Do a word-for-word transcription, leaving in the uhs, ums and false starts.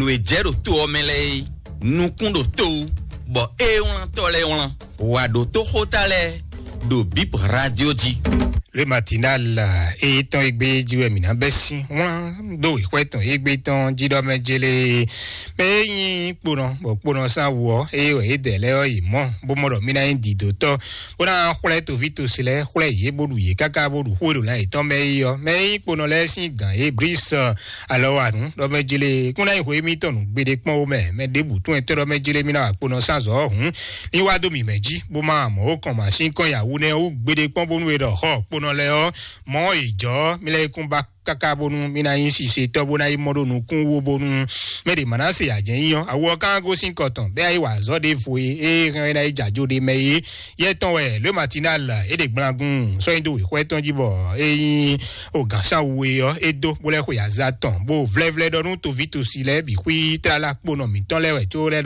Wějɛ ɖo to ɔ́ mɛ lɛ́ɛ é, nukún ɖo to wú, bɔ é wlántɔ́ lɛ́ɛ wlán. Wǎ ɖó tóxóta lɛ́ɛ ɖo Bip Radio jí. Le Matinal, e tɔn egbe jí wɛ mǐ ná bɛ́ sín wlán ɖó wěxwɛ tɔn egbe tɔn jí ɖɔ mɛ jélé. Mɛ e nyí kponɔ, bɔ kponɔ sán wú ɔ́, eye wɛ yě dɛ lɛ́ɛ ɔ́ yi mɔ, bó mɔ ɖɔ mí ná nyí dǐdótɔ́, bó ná xwlɛ́ toví tosi lɛ́ɛ, xwlɛ́ yě bó ɖu yě káká bó ɖu xó e ɖo lan yětɔn mɛ é ɔ́. Mɛ e nyí kponɔ lɛ́ɛ sín gǎn é Bris, alɔ wa nǔ ɖɔ mɛ jélé kún ná nyí hwě mítɔn nǔ gbeɖé kpɔ́n ó mɛ. Mɛ ɖěbǔ tún ɛ tɔ́ ɖɔ mɛ jélé mí ná wa kponɔ sán zɔ̌ ɔ́ hǔn, ní wá dó mǐ mɛ jí, bó má mɔ ó kɔn mǎ sín kɔn nyawu nɛ́ wú gbeɖé kpɔ́n bónú è ɖɔ xɔ kponɔ lɛ́ɛ ɔ́, mɔ̌ è jɔ̌ mí lɛ́ kún ba káká bónú mí ná nyí sisetɔ́ bó ná yi mɔ ɖó nukún wú bónú mɛ ɖě má ná se ajɛ̌ nyí ɔ́, awu ɔ́ ká gosín kɔ tɔn bɛ́ yá yi wa azɔ̌ ɖěvo e é hɛn ɛ ná yi jɛ ajo ɖé mɛ é. Yɛ tɔn wɛ Le Matinal é ɖe gblangun sɔ́ nyi dó wěxwɛ tɔn jí bɔ é nyí o gǎnsáwu e ɔ́ é dó bó lɛ́ xwe aza tɔn bó vlɛ́vlɛ́ ɖɔ nú toví tosi lɛ́ɛ bǐ xwí tlala kponɔ mǐtɔn lɛ́ɛ wɛ có lɛ́